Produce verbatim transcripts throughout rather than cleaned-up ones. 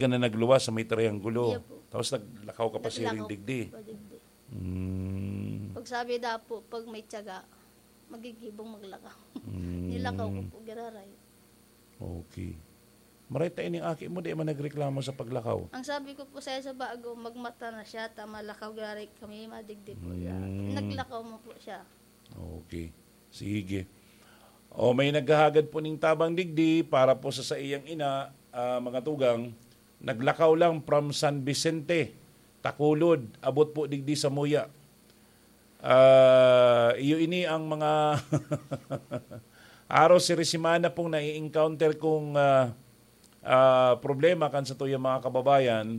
ka na nagluwas sa may triangulo. Iya po. Tapos naglakaw ka pa siring Naglakaw digdi. po, digdi. Mm. Pag sabi daw po, pag may tiyaga, magigibong maglakaw. Mm. Nilakaw ko po, giraray. Okay. Maray ta ining aki mo, di man nagreklamo sa paglakaw. Ang sabi ko po sa sa bago, magmata na siya, ta malakaw giraray kami, madigdi po siya. Mm. Naglakaw mo po siya. Okay. Sige. O, may naghahagad po ning tabang digdi para po sa saiyang ina, ah, mga tugang. Naglakaw lang from San Vicente, Tacolod, abot po digdi sa Muya. Ah, iyo ini ang mga araw siri semana pong nai-encounter kong, ah, ah, problema kan satuyang mga kababayan.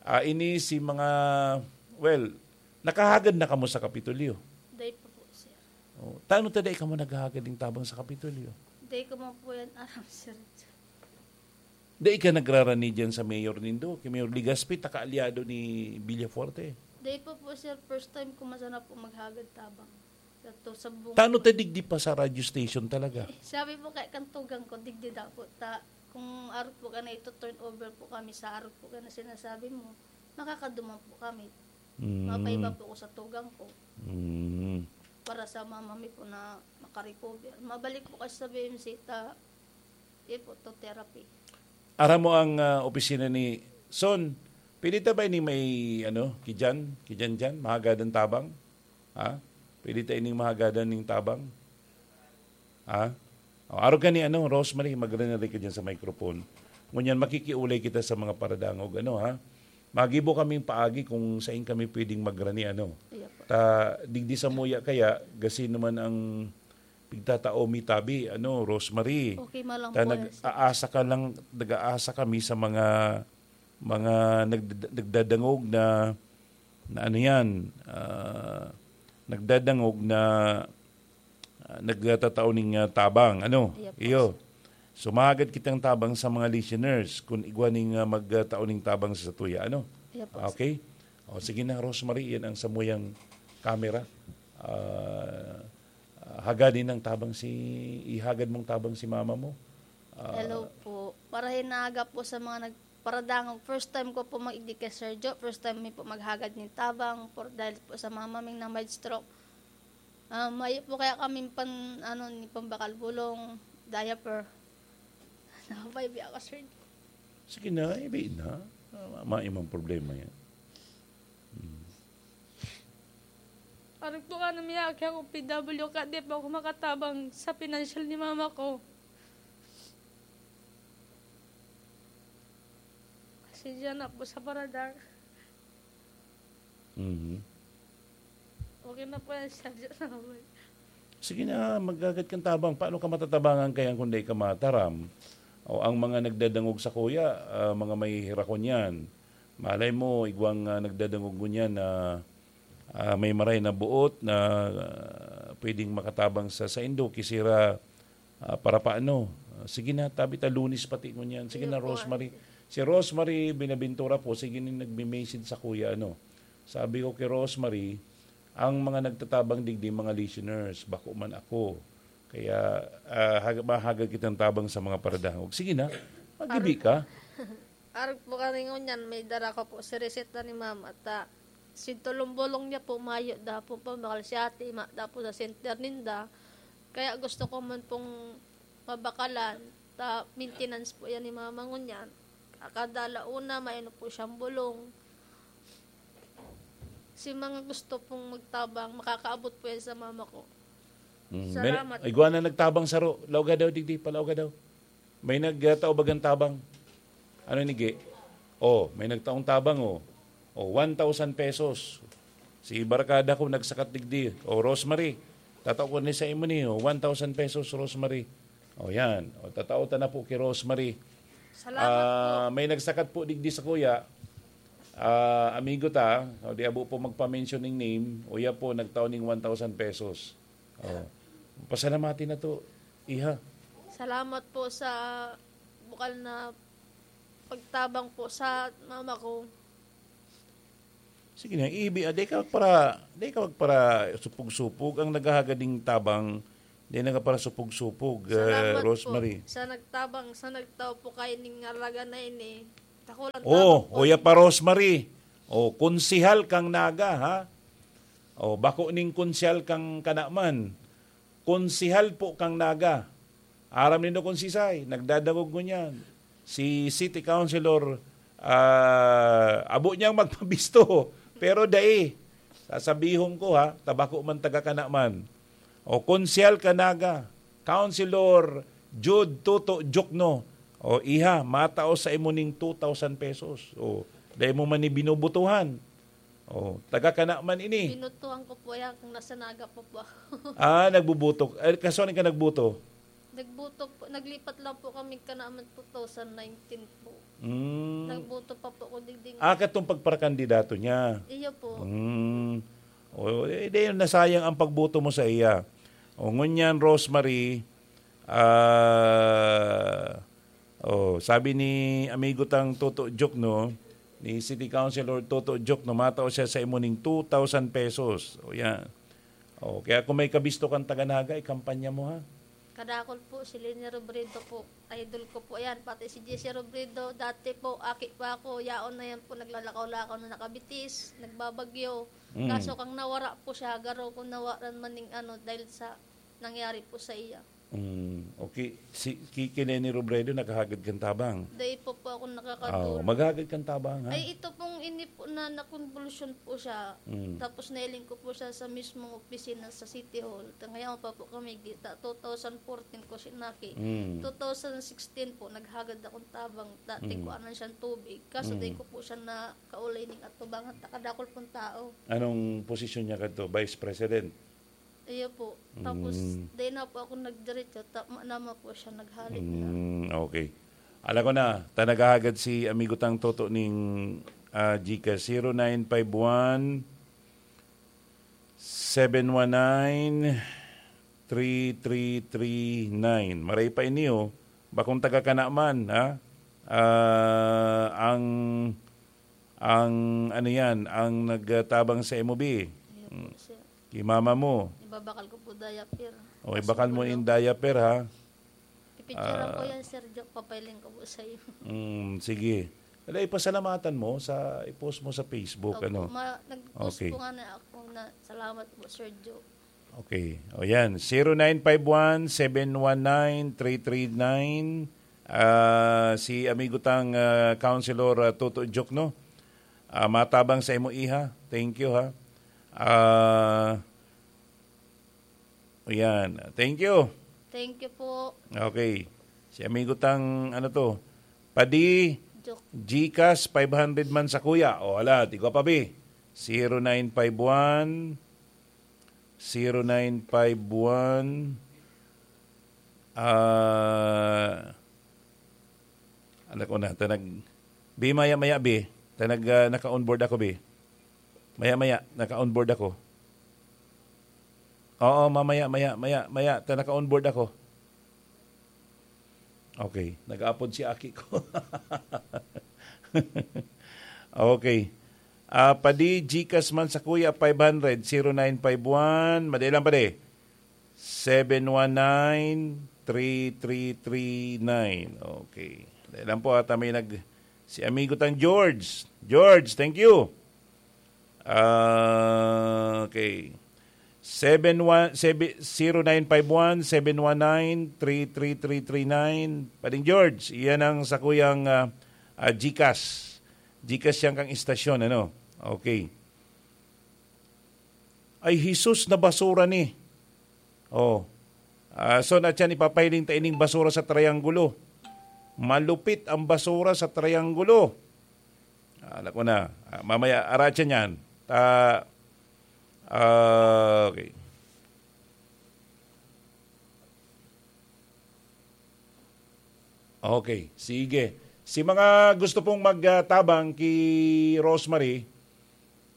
Ah, ini si mga, well, nakahagad na kamo sa Kapitolyo? Dai pa po, sir. Oh, tano ta dai kamo naghahagad ning tabang sa Kapitolyo? Dai ko man po yan aram, sir. Dai ka nagrarani diyan sa mayor nindo, kay Mayor Legaspi, ta kaalyado ni Villafuerte? Dai pa po, sir. First time ko man sana po maghagad tabang. Dato sa bunga Tano po. ta digdi pa sa radio station talaga? Eh, sabi po kay kan tugang ko, digdi daw po ta, kung arog po ka na ito, turn over po kami sa arog po ka na sinasabi mo, makakaduman po kami. Mm. Mapaiba po ko sa tugang ko. Mm. Para sa mama mi po na makarecover. Mabalik po kasi sa B M C ta, eh po, to therapy. Aram mo ang, ah, opisina ni Son, pwede ta ba ini may, ano, kijan? Kijan diyan? Mahagadan tabang? Ha? Pwede ta ining mahagadan ning tabang? Ha? O, arog ka ni, ano, Rosemary, magrani ka diyan sa microphone. Ngunyan, makikiulay kita sa mga paradangog, ano, ha? Magibo kaming paagi kung sain kami pwedeng magrani, ano. Iya po. Ta, digdi sa Muya kaya, gasi naman ang pigtatao mi tabi, ano, Rosemary. Okay, malang Ta po yan, sir. nag-aasa ka lang, nag-aasa kami sa mga, mga nagd-, nagdadangog na, na ano yan, ah, nagdadangog na, ah, nagtatao ning, ah, tabang, ano? Iya po, Iyo. sir. So, mahagad kitang tabang sa mga listeners kun igwa ning, ah, magtatao ning tabang sa satuya, ano? Iya po, sir. Okay? O, sige na, Rosemary, yan ang samuyang camera. Ah, ah, hagadin ang tabang si, ihagad mong tabang si mama mo. Ah, Hello po. Para hinaga po sa mga nagparadangog. First time ko po mag-igdi kay Sir Jo. First time mi po maghagad nin tabang. Por, dahil po sa mama ming na may stroke. Ah, mayo po kaya kaming pan, ano, ni pambakal bulong, diaper. Nakapaibi ako, Sir Jo. Sige na, ibi na. Ah, ma-, maimang problema yan. Hmm. Arog po ka na miyaki ako, P W ka, di pa ako makatabang sa pinansyal ni mama ko. Pasensya na po sa paradang. Mhm. Okay na po yan, sir. Salamat. Sige na, magagad kang tabang. Paano ka matatabangan kaya kung di ka mataram? O ang mga nagdadangog sa kuya, ah, mga may hirakon yan. Malay mo, igwang, ah, nagdadangog ngunyan na, ah, may maray na buot na, ah, pwedeng makatabang sa saindo, kisira, ah, para paano? Ah, sige na, tabi ta, Lunes pati ngunyan. Sige Iyo na, po, Rosemary. Auntie. Si Rosemary Binaventura po, sige na nagme-message sa kuya, ano. Sabi ko kay Rosemary, ang mga nagtatabang digdi, mga listeners, bako man ako. Kaya, ah, hag-, mahagad kitang tabang sa mga paradangog. Sige na, magibi Arog ka. Arog po kami ngunyan, may dara ko po si reseta ni Mama. Ta, si tulong-bolong niya po, mayo da po pambakal si ate, ma, da po sa center ninda. Kaya gusto ko man pong mabakalan. Ta, maintenance po yan ni Mama ngunyan. Kada launa, may ano po siyang bulong. Si mga gusto pong magtabang, makakaabot po yan sa mama ko. Mm, may, Salamat. Igwa na nagtabang saro. Laoga daw, digdi, palaoga daw. May nagtao bagang tabang. Ano ni Gi? Oh, may nagtaong tabang, oh. Oh, one thousand pesos. Si barkada ko nagsakat digdi. Oh, Rosemary, tatao ko ni sa imo ni, oh, one thousand pesos, Rosemary. Oh, yan. Oh, tatao ta na po kay Rosemary. Salamat Ah, po. May nagsakat po digdi sa kuya. Ah, amigo ta, o di abo po magpa-mention ning name, uya po, nagtao ning one thousand pesos. Oh. Pasalamati na to, iha. Salamat po sa bukal na pagtabang po sa mama ko. Sige na, ibi, ah, di ka para, di ka para supog-supog. Ang naghahagad ning tabang, di na ka para supog-supog, ah, Salamat Rosemary. Po sa nagtabang, sa nagtao po kayo ning ngalaga na ini. Takulan Oh, tabang po Kuya eh. Pa Rosemary. Oh, konsehal kang Naga, ha? Oh, bako ning konsehal kang Kanaman. Konsehal po kang Naga. Aram nindo kung sisay, nagdadangog ngunyan. Si City Councilor, ah, abo niyang magpabisto, pero dai. Sasabihon ko, ha, ta bako man taga Kanaman. O konsehal ka Naga, Councilor Jude Toto Jokno, o iha, matao sa imo ning two thousand pesos. O, dai mo man ni binubutuhan. O, taga Kanaman ini. Binutuhan ko po yan kung nasa Naga po po ako. Ah, nagbubuto. Eh, kaso ano ka nagbuto? Nagbuto po, naglipat lang po kami Kanaman two thousand nineteen po. Mm. Nagbuto pa po ako digding. Ah, katong pagparakandidato niya. Iyo po. Mm. O, eh, di, nasayang ang pagboto mo sa iya. O, ngunyan, Rosemary, ah, o, sabi ni amigo tang Toto Jokno, ni City Councilor Toto Jokno, matao siya sa imo ning two thousand pesos. O, yan. O, kaya kung may kabisto kang taga Naga, ikampanya mo, ha? Kadakol po, si Leni Robredo po. Idol ko po yan. Pati si Jesse Robredo, dati po, aki pa ako. Yaon na yan po, naglalakaw-lakaw na nakabitis, nagbabagyo. Mm. Kaso kang nawara po siya, garo kung nawaran man ning ano, dahil sa nangyari po sa iya. Mm, okay. Si, ki, ki Leni Robredo, nakahagad kang tabang? Dai po po ako nakakadul. Ah, maghagad kang tabang, ha? Ay, ito pong ini po na nakonbolusyon po siya. Mm. Tapos nailing ko po siya sa mismong opisina sa City Hall. Ta-, ngayon pa po kami, gita, two thousand fourteen ko sinaki. Mm. Two thousand sixteen po, naghagad akong tabang. Dati Mm. ko anan siyang tubig. Kaso Mm. di ko po siya nakaulay ning atubangan. Takadakol pong tao. Anong posisyon niya kadto? Vice President? Iyo po. Tapos, Mm. di na po ako nagdiretso. Ta-, ma-, nama po siya, naghalik na. Mm, okay. Alam ko na, ta naghahagad si amigo tang Toto ning, ah, GCash, zero nine five one, seven one nine, three three three nine. Maray pa ini, oh. Bakong taga ka na man, ha? Ah, ang, ang, ano yan, ang nagtabang sa M O B. Iyo po, Mm. sir. Kay mama mo. Ibabakal ko po diaper. O, Tapos ibakal mo po in yung diaper, ha? Pipicturean ko Ah. yan, Sir Joe. Papailing ko po sa'yo. Mm, sige. Wala, ipasalamatan mo sa, i-post mo sa Facebook, Opo, ano? ma-, nag-post Okay. po nga na ako na, "Salamat po, Sir Joe." Okay. O yan, zero nine five one, seven one nine, three three nine. Ah, si amigo tang, ah, Councilor, ah, Toto Jokno. Ah, matabang sa imo, iha. Thank you, ha. Ah, Ayan. Thank you. Thank you po. Okay. Si amigo tang, ano to? Padi, Joke. GCash, five hundred man sa kuya. O, ala, tigwa pa, bi. Zero nine five one, zero nine five one, ah, ano ko na, tanag, bi, maya-maya, bi. Tanag, ah, naka-onboard ako, bi. Maya-maya, naka-onboard ako. Oo, mamaya, maya, maya, maya, ta naka-onboard ako. Okay, nag-aapod si aki ko. Okay. Ah, padi, GCash man sa kuya, five hundred, zero nine five one, madali lang, padi. Seven one nine, three three three nine. Okay. Madali lang po, ata may nag-, si amigo tang George. George, thank you. Ah, okay. Seven one, seven, zero nine five one, seven one nine, three three three three nine. Pading George, iyan ang sakuyang, ah, ah, GCash. GCash yan kang istasyon, ano? Okay. Ay, Jesus, na basura ni. Oh. Ah, so, na siya, ipapahiling ta ining basura sa triangulo. Malupit ang basura sa triangulo. Ah, alam ko na. Ah, mamaya, aratsa niyan. Ta-, ah, okay. Okay, sige. Si mga gusto pong magtabang ki Rosemary,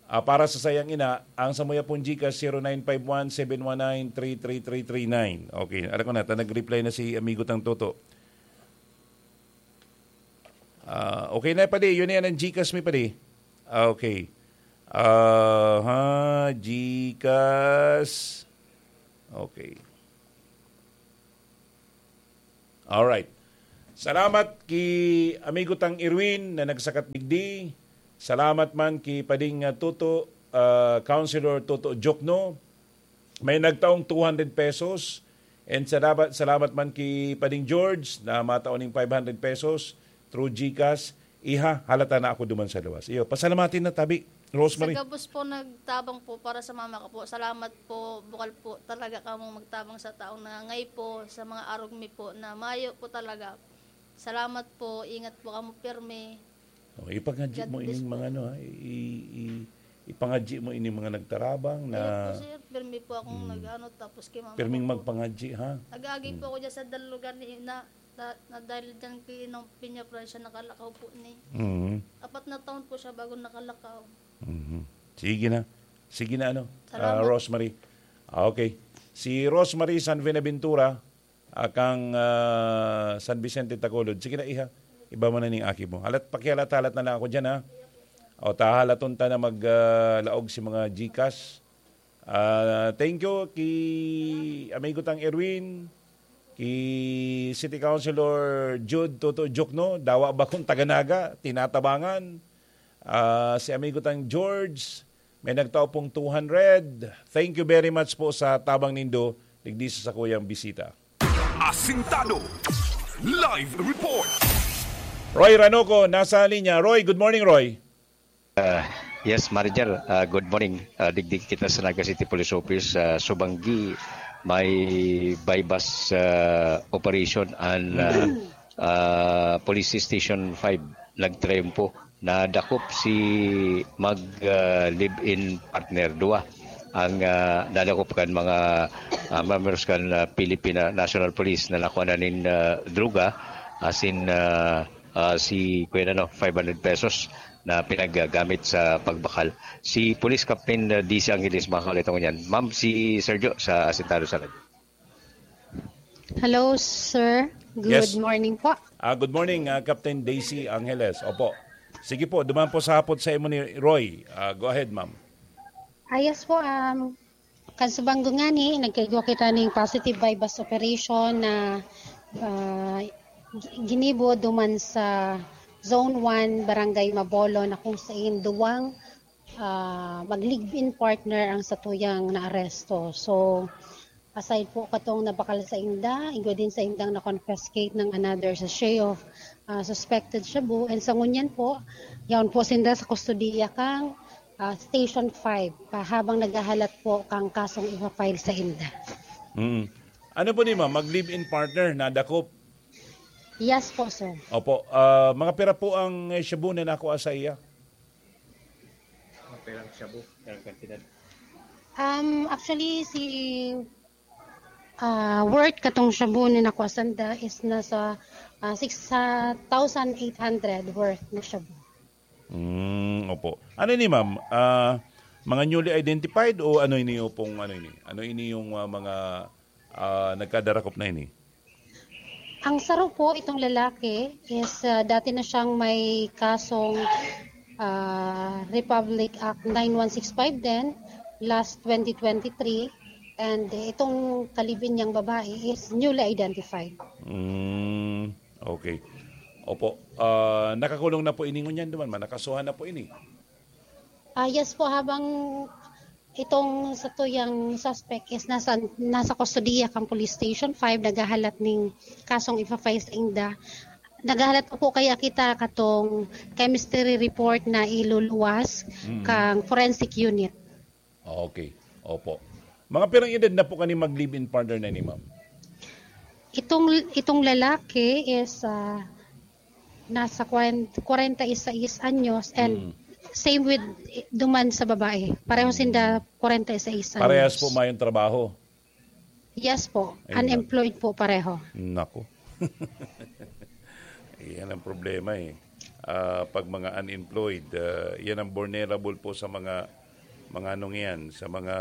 ah, para sa sayang ina, ang samuya pong GCash, zero nine five one, seven one nine, three three three three nine. Okay, alam ko na, ta nag-reply na si amigo tang Toto. Ah, okay na, padi. Yun na yan ang GCash mi, padi. Ah, okay. Ah, ha, GCash. Okay. Alright. Salamat ki amigo tang Irwin na nagsakat digdi. Salamat man ki Pading, ah, Toto, ah, Councilor Toto Jokno. May nagtaong two hundred pesos. And salamat, salamat man ki Pading George na matao ning five hundred pesos through GCash. Iha, halata na ako duman sa luwas. Iyo, pasalamatin na tabi, Rosemary. Sa gabos po nagtabang po para sa mama ko po. Salamat po, bukal po talaga kamong magtabang sa taong nangangay po, sa mga arog mi po na mayo po talaga. Salamat po, ingat po kamo pirmi. Oh, ipangadji God mo bless ining po. Mga ano, ha? I, i, ipangadji mo ining mga nagtarabang na Ayun po, sir, pirmi po akong Mm. nag-ano, tapos kay mama Pirming ko po. Magpangadji, ha? Nag-aagi po Mm. ako dyan sa dalugan ni na, na, na dahil dyan kay Inong Pinya Francia, nakalakaw po ni. Mm. Apat na taon po siya bago nakalakaw. Mhm. Sige na. Sige na, ano, Salamat. ah, Rosemary. Ah, okay. Si Rosemary San Buenaventura, akang, ah, San Vicente Tagolod. Sige na, iha. Iba mo na ning aki mo. Halat, pakihalat-halat na lang ako dyan, ha? O, tahalaton ta na mag, ah, laog si mga GCash. Ah, thank you ki amigo tang Erwin, ki City Councilor Jude Toto Jokno, dawa bakong taga Naga, tinatabangan. Ah, si amigo tang George, may nagtao pong two hundred. Thank you very much po sa tabang nindo, digdi sa sakuyang bisita. Asintado. Live report. Roy Ranoco, nasa linya. Roy, good morning, Roy. Ah, yes, Manager. Ah, good morning. Ah, digdi kita sa Naga City Police Office. Ah, subanggi may buy-bust, ah, operation an, ah, ah, Police Station five. Nagtriumpo. Nadakop si mag, ah, live-in partner. Duwa ang, ah, nadakop kan mga, ah, members kan, ah, Philippine National Police na nakuha na nin, ah, droga, asin, ah, ah, si, kuya, ano, five hundred pesos na pinaggamit sa pagbakal. Si Police Captain, ah, D C Angeles, makakalit ako niyan. Ma'am, si Sergio sa Asintado sa radyo. Hello, sir. Good Yes. morning po. Ah, good morning, ah, Captain Daisy Angeles. Opo. Sige po, duman po sa hapot sa imo ni Roy. Ah, go ahead, ma'am. Ah, yes po, um, kan subanggo ngani, nagkaigwa kita ning positive buy-bust operation na, ah, gi-, ginibo duman sa Zone one, Barangay Mabolo, na kung sain duwang, ah, mag-live-in partner ang satuyang naaresto. So, aside po katong nabakal sa inda, igwa din sa indang na-confiscate ng another sachet of, ah, suspected shabu. And sa ngunyan po, yaon po sinda sa kustodiya kang, ah, Station five, pa, habang naghahalat po kang kasong ipa-file sa inda. Mm. Ano po ni ma'am? Mag-live-in partner, nadakop? Yes po, sir. Opo. Ah, mga pira po ang, eh, shabu na nakuha sa iya? Mga pirang shabu, pirang kantidad? Um, actually, si, ah, worth katong shabu ni nakuha sanda is nasa, ah, six thousand eight hundred worth na shabu. Mm, opo. Ano ini, ma'am? Ah, mga newly identified o ano ini, opong ano ini? Ano ini yung, ah, mga, ah, nagkadarakop na ini? Ang saro po, itong lalaki is, ah, dati na siyang may kasong, ah, Republic Act nine one six five din, last twenty twenty-three. And itong ka-live-in niyang babae is newly identified. Mm, okay. Opo. Ah, nakakulong na po ini ngunyan duman, man. Nakasuhan na po ini. Ah, yes po, habang itong satuyang suspect is nasa, nasa kustodiya kang Police Station five, naghahalat ning kasong ipa-file sa inda. Naghahalat pa po kaya kita katong chemistry report na iluluwas Mm. kang forensic unit. Okay. Opo. Mga pirang edad na po kani mag-live-in partner na ni ma'am? Itong, itong lalaki is, ah, nasa kwarenta, kwarenta y seis anyos and Mm. same with, eh, duman sa babae. Pareho Mm. sinda kwarenta y seis anyos. Parehas po mayong trabaho? Yes po. Ayun na. Unemployed po pareho. Nako. Yan ang problema eh. Ah, pag mga unemployed, ah, yan ang vulnerable po sa mga, mga anong yan, sa mga,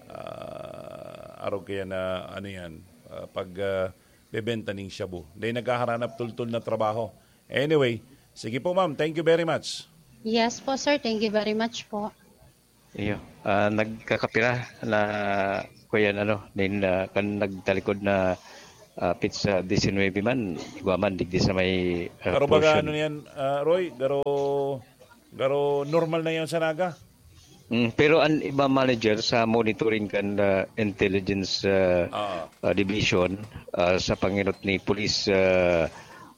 ah, arog kaya na ano yan, ah, pag, ah, bebenta ning shabu. Dahil naghaharanap tultol na trabaho. Anyway, sige po ma'am, thank you very much. Yes po, sir. Thank you very much po. Iyo, ah, nagkakapira na, kuya, ano, nin, ah, kan nagtalikod na Ah, pit sa disinwebe man, igwa man digdi sa may, ah, Pero baga portion. ano yan, ah, Roy? Garo, garo normal na yan sa Naga? Mm, pero ang iba manager sa monitoring kan, ah, intelligence, ah, Ah. ah, division, ah, sa panginot ni Police, ah,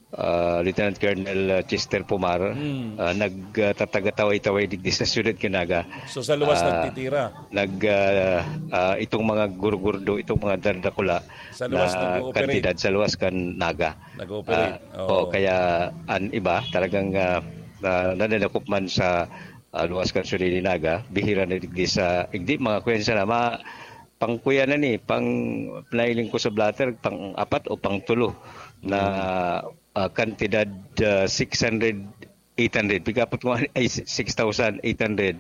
ah, Lieutenant Colonel, ah, Chester Pomar, Mm. ah, nag, ah, tatagataway-taway digdi sa siyudad kan Naga. So, sa luwas Ah, nagtitira? nag, ah, ah, itong mga gurgurdo, itong mga dardakula Sa luwas na nag-ooperate. kantidad sa luwas kan Naga. Nag-ooperate. Ah, Oo. oh, kaya ang iba talagang, ah, ah, nadadakop man sa, ah, luwas kan Surili Naga, bihira na digdi sa, igdi mga kuwensa na, ma-, pang kuya na ni, pang nailing ko sa blotter, pang apat o pang tulo na, Mm. ah, kantidad, ah, six hundred, eight hundred. Pigapot ko nga, ay, six thousand eight hundred.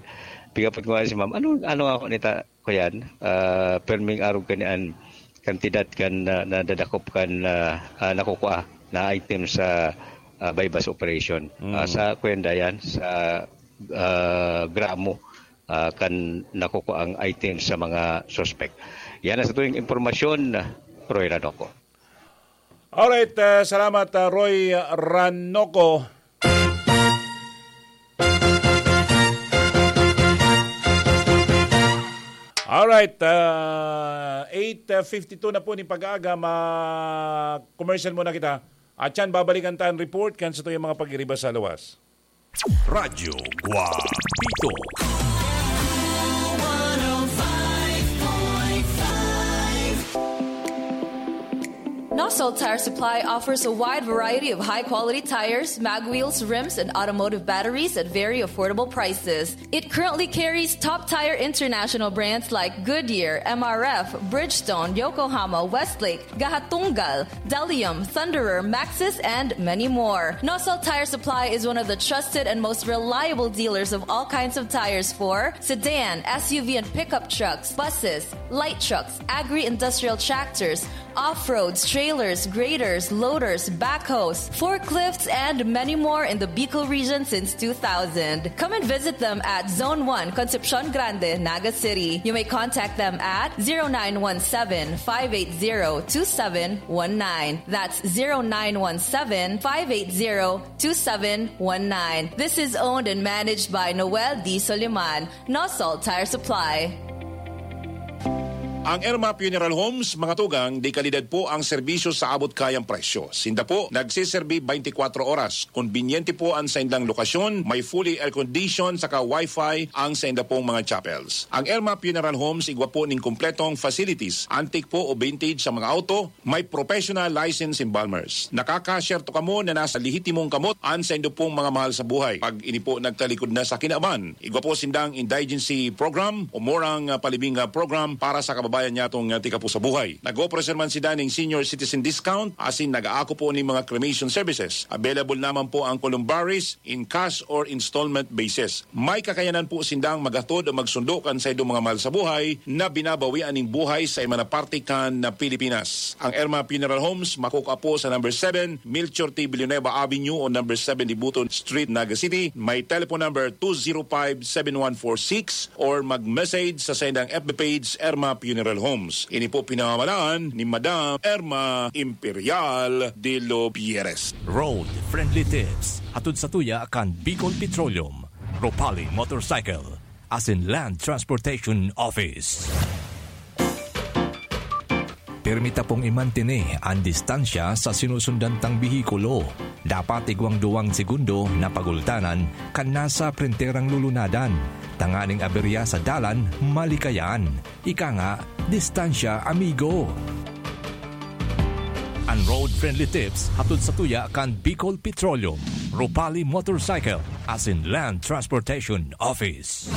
Pigapot ko nga si ma'am, "Ano, ano ako nita, kuyan?" Ah, perming arog kani an kantidad kan na, nadadakop kan, ah, ah, nakukua na item sa, ah, buy-bust operation. Mm. Ah, sa kuyan dayan, sa, ah, gramo, ah, kan nakukua ang item sa mga suspect. Yan ang sa tuyong impormasyon, Roy Ranoco. Alright, ah, salamat, ah, Roy Ranoco. Alright, ah, eight fifty-two na po ni pag-aaga, ma-commercial muna kita. At yan, babalikan ta an report kan sa tuyang mga pag-iriba sa luwas. Radyo Guapito. Nosol Tire Supply offers a wide variety of high-quality tires, mag wheels, rims, and automotive batteries at very affordable prices. It currently carries top tire international brands like Goodyear, M R F, Bridgestone, Yokohama, Westlake, Gahatunggal, Delium, Thunderer, Maxxis, and many more. Nosol Tire Supply is one of the trusted and most reliable dealers of all kinds of tires for sedan, S U V and pickup trucks, buses, light trucks, agri-industrial tractors, off-roads, trailers, graders, loaders, backhoes, forklifts, and many more in the Bicol region since two thousand. Come and visit them at Zone one, Concepcion Grande, Naga City. You may contact them at zero nine one seven, five eight zero, two seven one nine. That's zero nine one seven, five eight zero, two seven one nine. This is owned and managed by Noel D. Soliman, Nosol Tire Supply. Ang Irma Funeral Homes, mga tugang, de kalidad po ang serbisyo sa abot kayang presyo. Sinda po nagseserbi twenty-four oras. Konbinyente po ang saindang lokasyon, may fully air-conditioned saka wifi ang sainda pong mga chapels. Ang Irma Funeral Homes igwa po ning kompletong facilities, antique po o vintage sa mga auto, may professional license embalmers. Nakakasyerto kamo na nasa lehitimong kamot an saindo pong mga mahal sa buhay. Pag ini po nagtalikod na sa kinaban, igwa po sindang indigency program o murang, ah, palibing, ah, program para sa kababayan nyatong, ah, tika po sa buhay. Nag-operasyon man sinda ning senior citizen discount, asin nag-aako po ning mga cremation services. Available naman po ang columbaries in cash or installment basis. May kakayanan po sindang maghatod o magsundo kan saindong mga mahal sa buhay na binabawian ning buhay sa iba na parte kan na Pilipinas. Ang Irma Funeral Homes makukua po sa number seven, Melchor T. Villanueva Avenue o number seven Dibuton Street, Naga City. May telephone number two zero five, seven one four six or mag-message sa saindang F B page, Irma Funeral Homes. Ini po pinamamalaan ni Madam Irma Imperial de los Pierres. Road Friendly Tips, hatod satuya kan Bicol Petroleum, Ropali Motorcycle, asin Land Transportation Office. Pirmi ta pong imantene an distansya sa sinusundan tang behikulo. Dapat igwang duwang segundo na pagultanan kan nasa prenterang lulunadan, tanganing aberya sa dalan malikayan. Ika nga, distansya, amigo. An road-friendly tips hatod satuya kan Bicol Petroleum, Ropali Motorcycle, asin Land Transportation Office.